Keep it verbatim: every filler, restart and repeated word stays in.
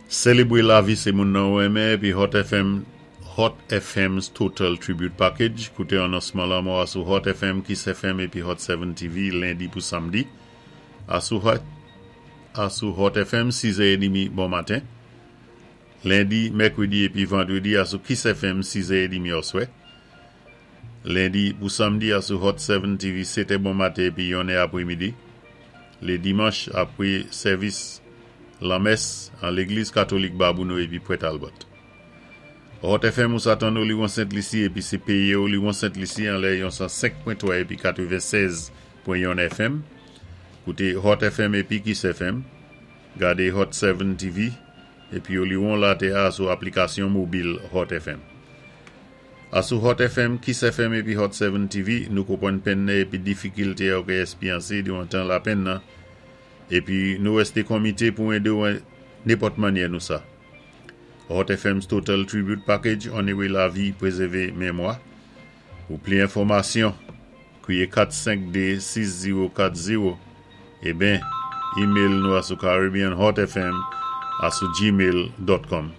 Sélébwé lavi sé moun-nan ou renmen épi Hot F M, Hot F M's Total Tribute Package. Kouté anonsman lanmò a sou Hot F M, Kiss F M épi Hot sept T V lendi pou samdi. A sou Hot, a sou Hot F M sis è trant bon maten. Lendi, mèkwédi épi vandwédi a sou Kiss F M sis è trant oswè. Lendi pou samdi a sou Hot sept T V sèt è bon maten épi yon è apwémidi. Lé dimanch apwé sèvis lanmès an Légliz Katolik Babonneau épi Port Talbot. Hot F M ou sa tann Oliwon Sent Lisi épi sé péyé Oliwon Sent Lisi an lè yon san senk pwen twa épi katwennsèz pwen yon F M. Kouté Hot F M épi Kiss F M. Gadé Hot sept T V épi Oliwon latè a sou aplikasyon mobil Hot F M. A sou Hot F M, Kiss F M épi Hot sept T V, nou konpwann penn-nan épi difikilte ou ka éspéryansé diwan tan lapenn-nan épi nou wésté konmité pou édé ou nenpòt mannyè nou sa. Hot F M's Total Tribute Package, onoré lavi, pwézèvé mémwa. Pou plis enfòmasyon, kwiyé kat senk de sis zewo kat zewo é ben, email nou a sou Caribbean Hot F M a sou gmail dot com.